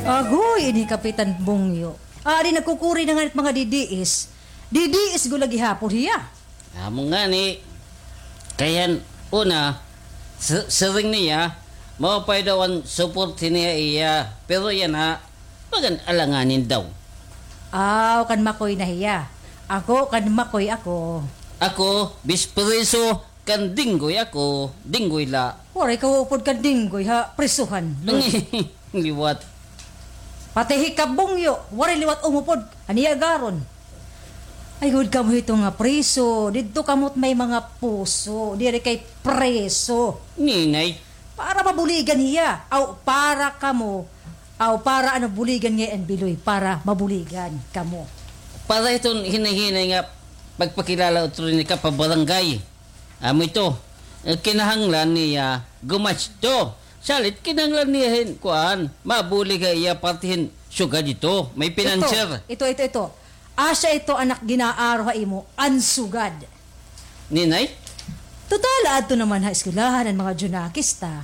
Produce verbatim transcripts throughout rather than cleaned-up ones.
Agoy, ini Kapitan Bungyo. Adi nagkukuri na ngani it mga D D S. D D S gud la gihapon hiya. Amo ngani, kay han una, si-, siring niya, maupay daw an support niya iya. Pero yana, bagan alanganin daw. Aw, kan makoy na hiya. Ako, kan makoy ako. Ako, bis preso, kan dinggoy ako, dinggoy la. Waray ka upod kan dinggoy ha prisuhan, Loy. Liwat. Pati hi Kabungyo, waray liwat umupod, aniya garon. Ay, gud kamo hito nga preso, didto kamo't may mga puso, diri kay preso. Ninay. Para mabuligan hiya, aw para kamo, aw para ano buligan ngay-an, Biloy, para mabuligan kamo. Para hiton hinay-hinay nga pagpakilala utro ni ka pa barangay. Amo ito, eh, kinahanglan niya gumasto. Salit kinahanglan niya hin, kuan, mabulig ha iya parte hin sugad ito. May financier. Ito, ito, ito, ito. Asya ito, anak, ginaaro ha imo, an sugad. Ninay? Total, adto naman ha eskwelahan an mga Junakis ta.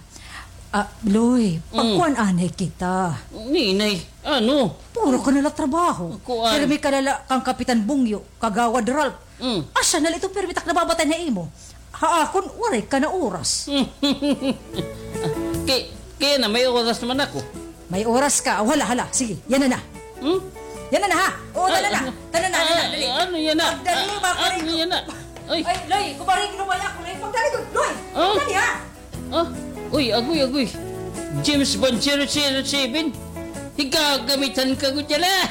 Ah, Loy, pagkuan anay kita. Ninay, ano? Puro ka na la trabaho. Kuan. Pirmi ka na la kan Kapitan Bungyo, Kagawad Ralph. Mm. Asya na la ito, pirmi tak nababatay na imo. Ha akon, waray ka na oras. Kay, kay yana, may oras naman ako. May oras ka. O, hala, hala. Sige, yana na. Hmm? Yana na, ha? O, tana na. Tana na, tana na, dali. Ano yana? Pagdali, mga ano yana? Ay. Ay, Loy, kumaring lumay ako, Loy. Pagdali ko, Loy. Pagdali, ha? Ah, uy, agoy, agoy. James Bond zero zero seven. Higagamitan ka ko dyan, ah.